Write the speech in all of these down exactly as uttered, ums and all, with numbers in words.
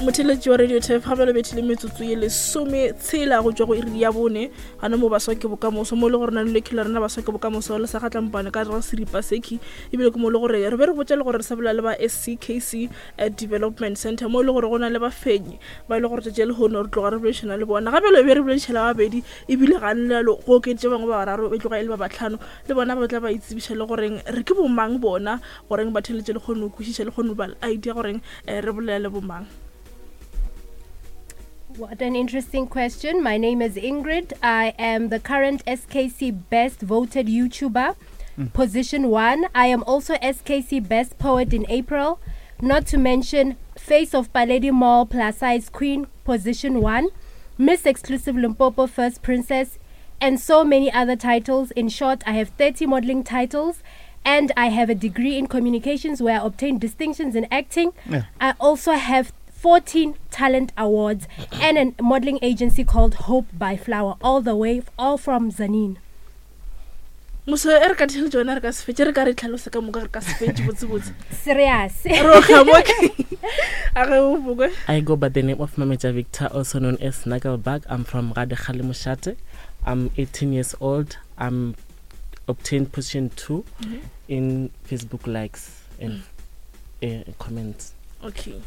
Motheletši wa Radio Turf, gape le bethile metsotso ye lesome tshela go tšwa go iri ya bone gana mo Baswa ke Bokamoso, mo e le gore na le lekhelo rena Baswa ke Bokamoso le sa gatlampane ka re seripa seki, ebile ke mo e le gore re be re botša le gore re sa bolela le ba S C K C eh, Development Center, mo e le gore go na le bafenyi ba e le gore tšatši le lehono re tloga re boledišana le bona. Gape le be re boledišana babedi, ebile ga nlalo go okeditše bangwe ba bararo, e tloga e le ba batlhano, le bona ba tla ba itsebiša le goreng re ke bomang bona, goreng batheletše le kgone go kwešiša le kgone go ba le idea goreng eh, re bolela le bomang. What an interesting question. My name is Ingrid. I am the current S K C Best Voted YouTuber, position one. I am also S K C Best Poet in April. Not to mention Face of Paledi Mall Plus Size Queen, position one, Miss Exclusive Limpopo First Princess, and so many other titles. In short, I have thirty modeling titles. And I have a degree in communications where I obtained distinctions in acting. Yeah. I also have fourteen talent awards and a modeling agency called Hope by Flower, all the way, all from Tzaneen. Moso e re ka theletše wena, re ka se fetše, re ka re tlhalosa ka moka, re ka se fetše botsebotse. Serious. Re otla mo ke a ge o bokwe. I go by the name of Mameja Victor, also known as Nagelbug. I'm from Radekhale Moshate. I'm eighteen years old. I'm obtained position two in Facebook likes and uh, comments. Okay.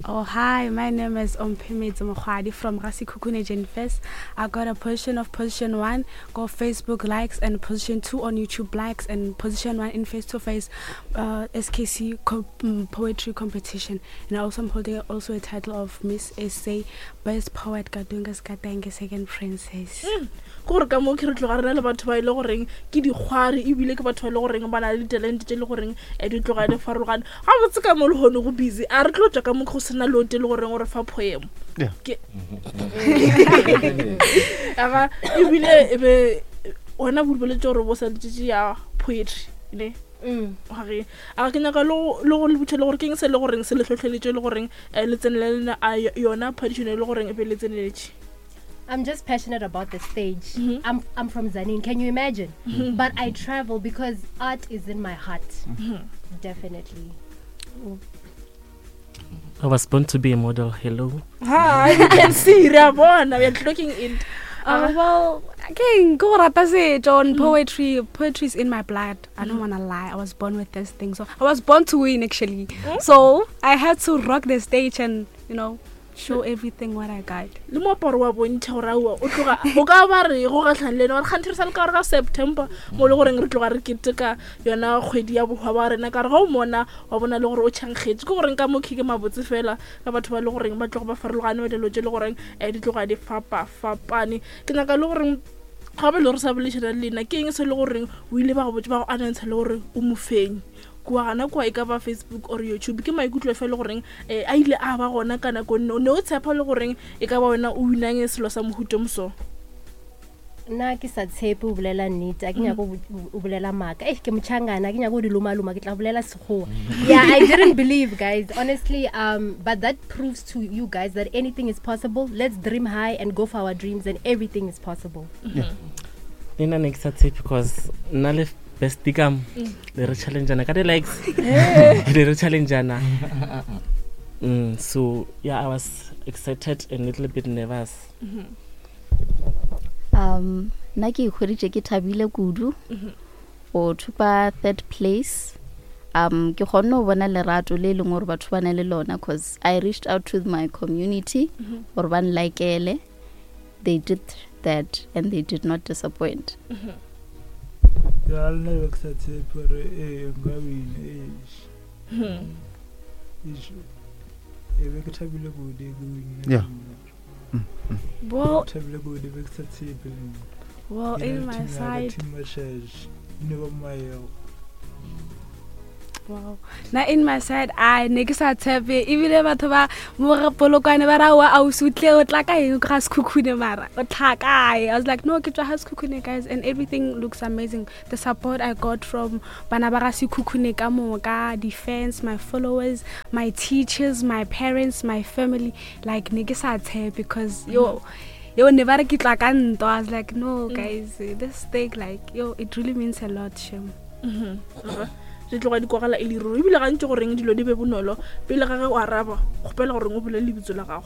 Oh, hi, my name is Ompimidzi Mokhwadi from Rasikhukhune Genfest. I got a position of position one, go Facebook likes, and position two on YouTube likes, and position one in face to face S K C co- mm, poetry competition. And I also am holding also a title of Miss S A Best Poet Kadunga Skatenge Second Princess. Ke gore ka mo ke re tloga re na le batho ba e le goreng ke dikgwari, ebile ke batho ba e le goreng ba na le ditalente tse e le goreng um di tloga di farologane gabotse. Ka mo le kgone go busy, a re tlo tswa ka mo go sena lote le goreng gore fa poem. Yeah. Ke aga ebile e be wena boletse gore bo sa letšetše ya poetry ne. Mm. Gage a ke nyaka le go le go le botša le gore ke eng se le goreng se le hlohleletše le goreng um le tsenele le a yona phadišano e le goreng e be le tseneletše. I'm just passionate about the stage. Mhm. I'm, I'm from Tzaneen, can you imagine? But I travel because art is in my heart. Definitely. I was born to be a model. Hello. Hi, you can see, re a bona, we are looking it. Uh, well, again, go rata setšo on poetry. Poetry is in my blood. I don't wanna lie. I was born with this thing. So I was born to win, actually. So I had to rock the stage and you know show everything what I got. Le moaparo wa bontšha gore aowa o tloga o ka ba re go gatlhang le ene gore kganthe re sa le ka gore ka September mo le goreng re tloga re keteka yona kgwedi ya bohwa ba rena, ka re ga o mona wa bona le gore o tšhankgetse ke goreng ka mokhi ke mabotse fela ka batho ba le goreng ba tloga ba farologane ba dilo tse le goreng um di tloga di fapa-fapane. Ke nyaka le goreng gape le gore sa boledišana le lena ke eng se le goreng o ile ba go botse ba go announce le gore o mofenyi kua gana kua, e ka ba Facebook or YouTube, ke maikutlo fe le goreng um a ile a ba gona ka nako nne o ne o tshepa le goreng e ka ba wena o winang selo sa mohuto moso? Nna ke sa tshepe, o bolela nnete, a ke nyako o bolela maaka. Eh, ke motšhangana, a ke nyako o di lomaloma, ke tla bolela sekgowa. Yeah, I didn't believe, guys, honestly, um but that proves to you guys that anything is possible. Let's dream high and go for our dreams, and everything is possible. Le nna ne ke sa tshepe because nna le bestie kam le re challengeana ka di-likes, le re challengeana. mm, so yeah, I was excited and a little bit nervous. um nna ke ikhweditše ke thabile kudu go thopa third place. um ke kgonne go bona lerato le e leng gore batho ba na le lona, cause I reached out to my community gore ba nlikele. They did that and they did not disappoint. Ya, le nna be ke sa tshepe gore ee nka wina. Eish, eish, e be ke thabile kudu ke winne. Yeah. Well, Thabile kudu, be ke sa tshepe le nna. well, Ke na in le my team ya ka, side, team Mashashe, ne ba maego. Wow. Na in my side, I ne ke sa tshepe, ebile batho ba mo re Polokwane ba ra wa ausi o tle o tla ka eng ga Sekhukhune, mara o tla kae? I was like, no, ke tswa ga Sekhukhune, guys, and everything looks amazing. The support I got from bana ba ga Sekhukhune ka moka, the fans, my followers, my teachers, my parents, my family, like ne ke sa tshepe because yo yo ne ba re ke tla ka ntwa. I was like, no, guys, this thing, like, yo, it really means a lot, shem. Di tloga di kwagala e le ruri. Ebile gantši goreng dilo di be bonolo, pele ga ge o araba, kgopela goreng o bolele lebitso la gago.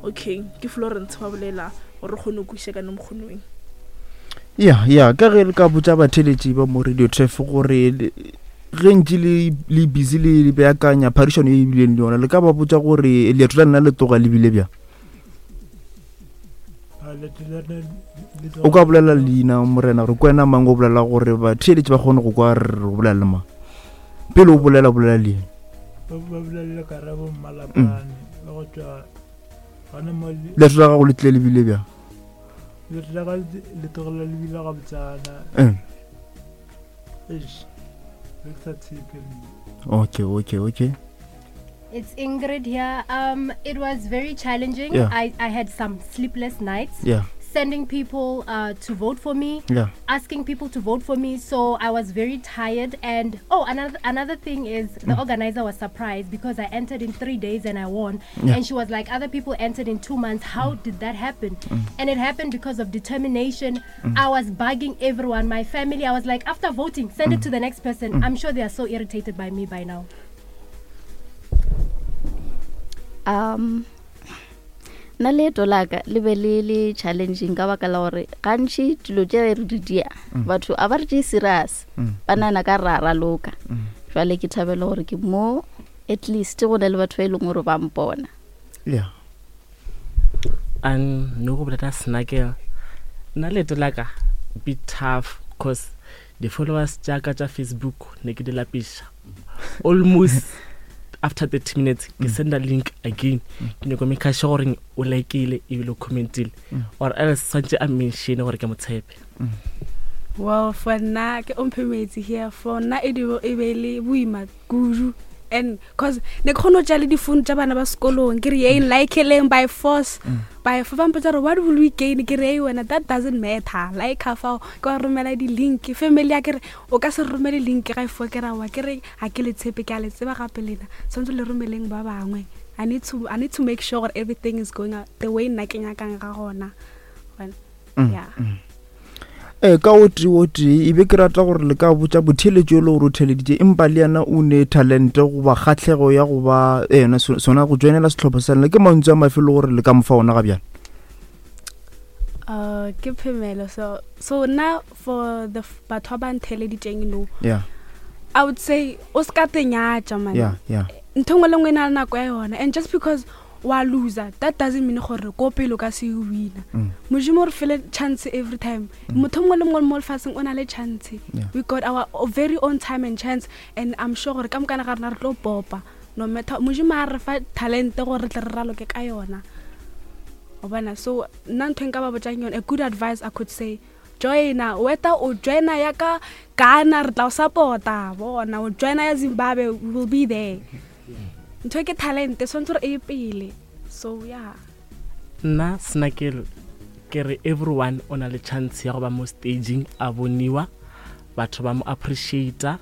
Okay, ke Florence wa bolela gore re kgone go kwešiša ka nomokgonweng. Ya, ya, ka ge le ka botša batheeletši ba mo Radio Turf gore le- ge ntše le le busy le le beakanya phadišano e bileng le yona, le ka ba botša gore leeto la lena le tloga le bile bjang? A leeto la rena le tloga- O ka bolela leina morena gore ke wena mang, o bolela gore batheeletši ba kgone go kwa re re bolela le mang. Pele o bolela, bolela leina. Ba ba bolela Karabo Mmalapane, ba go tšwa gona mo le- Leeto la gago le tlile le bile bjang? Leeto la ka le le tlogela le bile gabotsana. Eh. Eish, be ke sa tshepe nna. Okay, okay, okay. It's Ingrid here. Um, it was very challenging. Yeah. I, I had some sleepless nights. Yeah. Sending people, uh, to vote for me. Yeah. Asking people to vote for me. So I was very tired. And oh, another, another thing is the Mm. organizer was surprised because I entered in three days and I won. Yeah. And she was like, other people entered in two months. How Mm. did that happen? Mm. And it happened because of determination. Mm. I was bugging everyone, my family. I was like, after voting, send it Mm. to the next person. Mm. I'm sure they are so irritated by me by now. Um, nna leeto la ka le be le le challenging ka baka la gore gantši dilo tše re di dia, Mm. batho a ba re tšee serious, Mm. ba nagana ka ra raloka. Mm. Jwale ke thabela gore ke mo at least go na le batho ba e leng gore ba mpona. Yeah. And no go bolela Snakel, nna leeto la ka be tough cause the followers tša ka tša Facebook ne ke di lapiša. Almost after thirty minutes ke Mm. senda link again. Mm. Ke nyako make sure gore o like-ile ebile o comment-ile, Mm. or else swantse a mention gore ke mo tshepe. Mm. Well, for nna ke Omphemetse here. For nna e di e be le boima kudu. And cause ne ke kgone ho tšea le difounu tša bana ba sekolong, ke re yeng like-eleng by force. Mm. By force, ba mpotsa gore what will we gain? Ke re, hey, wena, that doesn't matter. Like ha fao, ke wa romela di-link. Family ya ke re, o ka se romele link ga e fo ke ra wa. Ke re, ha ke le tshepe, ke a le tseba gape lena. Tshwanetse le romeleng ba bangwe. I need to, I need to make sure gore everything is going out the way nna ke nyakang ga gona. Well, Mm, yeah. mm. Eh, ka o tee o tee, e be ke rata gore le ka botša botheeletši yo le gore o theeleditše, empa le yena o ne talente goba kgahlego ya go ba, eh, yena so-, sona go joinela sehlopha sa lena. Ke mantswe a mafe le gore le ka mo fa ona ga bjale? Uh, ke Phemelo. So, so nna for the f-, batho ba ba ntheeleditšeng, no. Yeah. I would say o ska tenyatša, man. Yeah, yeah. Ntho engwe le engwe e na le nako ya yona, and just because wa loser, that doesn't mean gore ko pele o ka se e wina. Mm. Modimo o re file chance every time. Mm. Motho mongwe le mongwe mo lefatsheng o na le chance. Yeah. We got our very own time and chance, and I'm sure gore ka mokana ga rena re tlo popa. No matter, Modimo a re fa talente gore re tle re raloke ka yona. O bona, so nna ntho e nka ba botsang yone, a good advice I could say, joina, whether o joina ya ka Ghana, re tla o support-a, bona, o joina ya Zimbabwe, we will be there. Ntho e ke talente, tshwanetse gore e ye pele. So yeah. Nna Snakel ke re everyone o na le chance ya go ba mo staging, a boniwa, batho ba mo appreciate-a,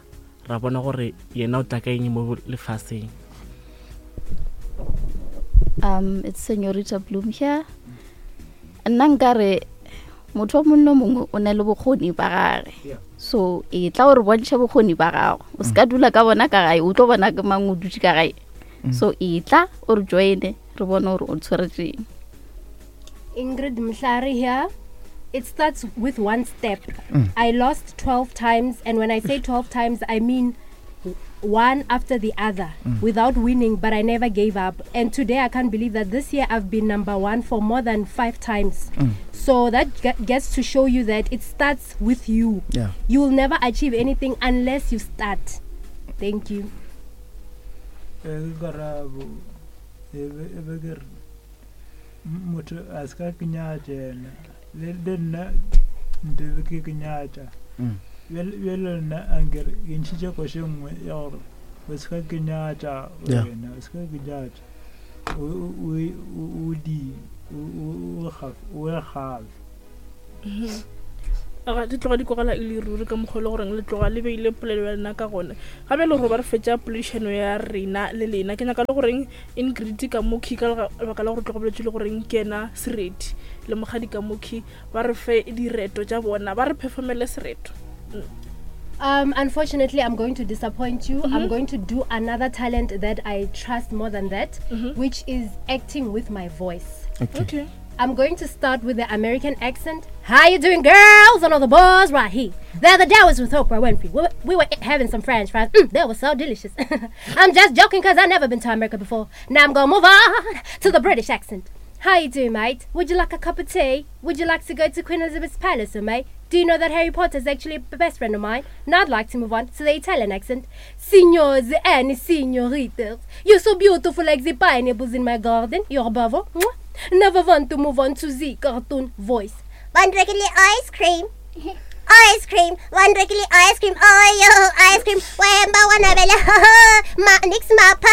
ra bona gore yena o tla ka eng mo lefaseng. Um, it's Senorita Bloom here. Nna nkare motho o mongwe le mongwe o na le bokgoni ba gage. Yeah. So e tla gore bontšhe bokgoni ba gago. O se ka dula ka bona ka gae, o tlo bona ke mang o dutše ka gae. Mm. So e tla o re join-e, re bone gore o tshweretseng. Ingrid Mhlari here. It starts with one step. Mm. I lost twelve times, and when I say twelve times, I mean one after the other Mm. without winning, but I never gave up. And today I can't believe that this year I've been number one for more than five times. Mm. So that ge-, gets to show you that it starts with you. Yeah. You will never achieve anything unless you start. Thank you. Eh, ke Karabo. E be, e be ke re, m-, motho a se ka ke nyatša yena. Le, le nna nte be ke ke nyatša. Mm. Bjale, bjale nna a nkere ke ntšhitše koša e nngwe ya gore o se ka ke nyatša Yeah. wena, o se ka ke nyatša. O, o, o, o, o di, o, o, o gafe, o e gafe. Mhm. Aga, di tloga di kwagala e le ruri ka mokgwa o le goreng le tloga le beile polelo ya lena ka gona. Gape le gore ba re fetša poledišano ya rena le lena, ke nyaka le goreng Ingrid ka mokhi ka lega-, lebaka la gore tloga boletse le goreng ke ena sereti le mokgadi ka mokhi, ba re fe direto tša bona, ba re performele sereto. Mm. Um, unfortunately, I'm going to disappoint you. Mm-hmm. I'm going to do another talent that I trust more than that, mm-hmm. which is acting with my voice. Okay. Okay. I'm going to start with the American accent. How you doing, girls? And all the boys right here. The other day I was with Oprah Winfrey. We were, we were having some French fries. Mm, they were so delicious. I'm just joking because I've never been to America before. Now I'm going to move on to the British accent. How you doing, mate? Would you like a cup of tea? Would you like to go to Queen Elizabeth's Palace, or mate? Do you know that Harry Potter is actually a best friend of mine? Now I'd like to move on to the Italian accent. Signors and signoritas, you're so beautiful like the pineapples in my garden. You're bravo. Mwah. Never want to move on to the cartoon voice. One regular ice cream. Ice cream, one regular ice cream, oh yo, ice cream, Wemba wanabella, ma nix mapa.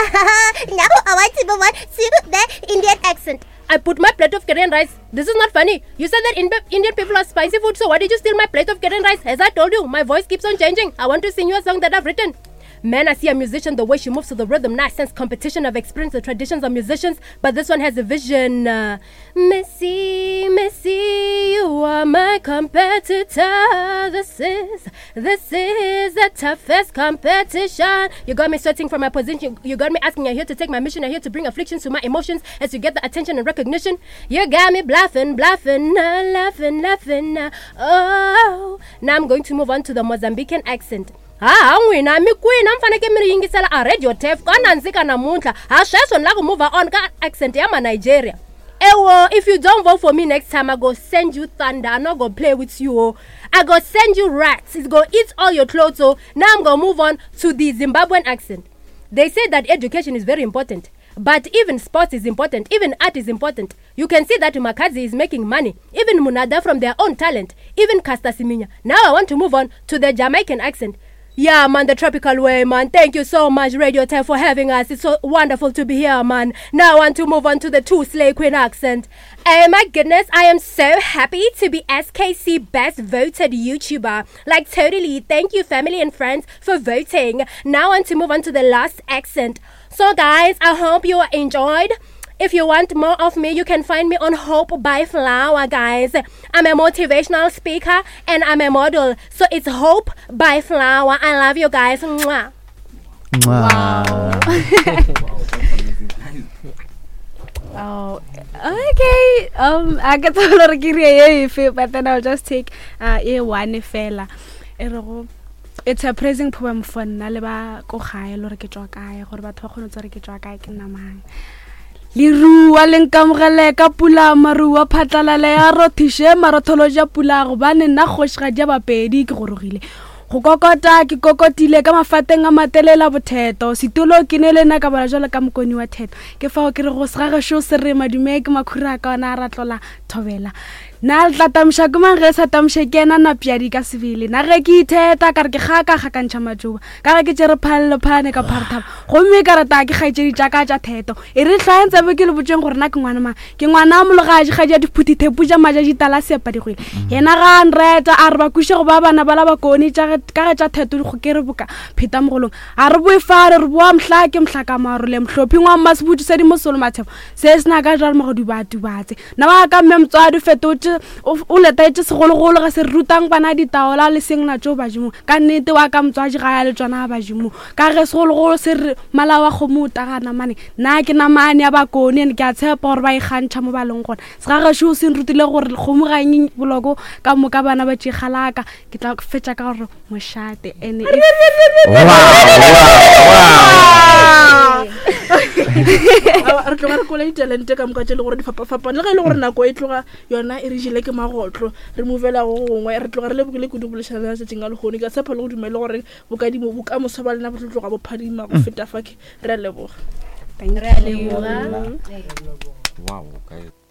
Now I want to move on to the Indian accent. I put my plate of curry rice. This is not funny. You said that in- Indian people are spicy food, so why did you steal my plate of curry rice? As I told you, my voice keeps on changing. I want to sing you a song that I've written. Man, I see a musician, the way she moves to the rhythm. Nice sense competition. I've experienced the traditions of musicians, but this one has a vision. Uh, Missy, Missy, you are my competitor. This is, this is the toughest competition. You got me sweating for my position. You got me asking, I'm here to take my mission. I'm here to bring afflictions to my emotions as you get the attention and recognition. You got me bluffing, bluffing, uh, laughing, laughing. Uh, oh, now I'm going to move on to the Mozambican accent. Ha n'wina mi kwini a mi fanekele mi ri yingisela a radio tef ka nandzika namuntlha ha sweswo ni lava ku move on ka accent ya ma Nigeria. Ewo, if you don't vote for me next time, I go send you thunder. I'm not gonna play with you. Oh. I go send you rats. It's gonna eat all your clothes. Oh. Now I'm gonna move on to the Zimbabwean accent. They say that education is very important, but even sports is important. Even art is important. You can see that Makazi is making money. Even Munada from their own talent. Even Caster Semenya. Now I want to move on to the Jamaican accent. Yeah, man, the tropical way, man. Thank you so much, Radio ten, for having us. It's so wonderful to be here, man. Now I want to move on to the two Slay Queen accent. Oh, my goodness, I am so happy to be S K C Best Voted YouTuber. Like, totally. Thank you, family and friends, for voting. Now I want to move on to the last accent. So, guys, I hope you enjoyed. If you want more of me, you can find me on Hope by Flower, guys. I'm a motivational speaker and I'm a model. So it's Hope by Flower. I love you guys. Mwah. Wow. Oh, okay. Um, I get to but then I'll just take uh, a one fella. It's a praising poem for nna le ba ko gae le gore ke tswa kae, gore batho ba kgone go tswa ke tswa kae, ke nna mang. Lerua le nkamogele ka pula marua phatlalale ya rothiše marotholo ja pula gobane nna kgošigadi ya Bapedi ke gorogile. Go kokota ke kokotile ka mafateng a matelela botheto setulo ke ne le nna ka bala jalo ka mokoni wa theto ke fao ke re go segagešo se re madume ke makhura a ka ona a ratlola thobela. Nna le tla tamša ke mang ge sa tamše ke ena napjadi ka sebele na ge ke itheta ka re ke kgaka kgakantšha matšoba ka ge ke tšere phalelo phane ka pharethaba gomme ka rata ke kgaetšedi tša ka tša theto e re hlwaeng tsebe ke le botšeng gore na ke ngwana mang ke ngwana a mologadi kgadi ya diphuthi-thepu tša maja ditala seapadigwele yena ga a nreta a re ba kweše go ba bana ba la bakone ka ge tša theto dikgokere boka pheta mogolong a re boe fare re boa mohla ke mohla ka marole mohlophing wa mmasebutšu se di mosolo mathebo se se na ka jalo mogodu ba tubatse nna wa ka mme motswadi fetotše o letaetše segologolo ga se re rutang bana ditaola le seng natšo badimong ka nnete wa ka motswadi ga ya le tsona badimong ka ge segologolo se re mala wa kgomo o tagana mane nna ke namane ya bakone ene ke a tshepa gore ba ikgantšha mo ba leng gona segagešo se nrutile gore kgomo ga eng boloko ka moka bana ba tšegalaka ke tla fetša ka gore mošate ene re tloga re kola ditalente ka moka tše le gore di fapafapane le ge e le gore nako e tloga yona e re jele ke magotlo re movela go gongwe re tloga re lebogile kudu bolešana le tšatšing a lehono ke a tshepa le go dumele gore bokadimo bokamoso ba lena bo tlo tloga bo phadima go feta fa ke re a leboga. Re a leboga. Wow, guys.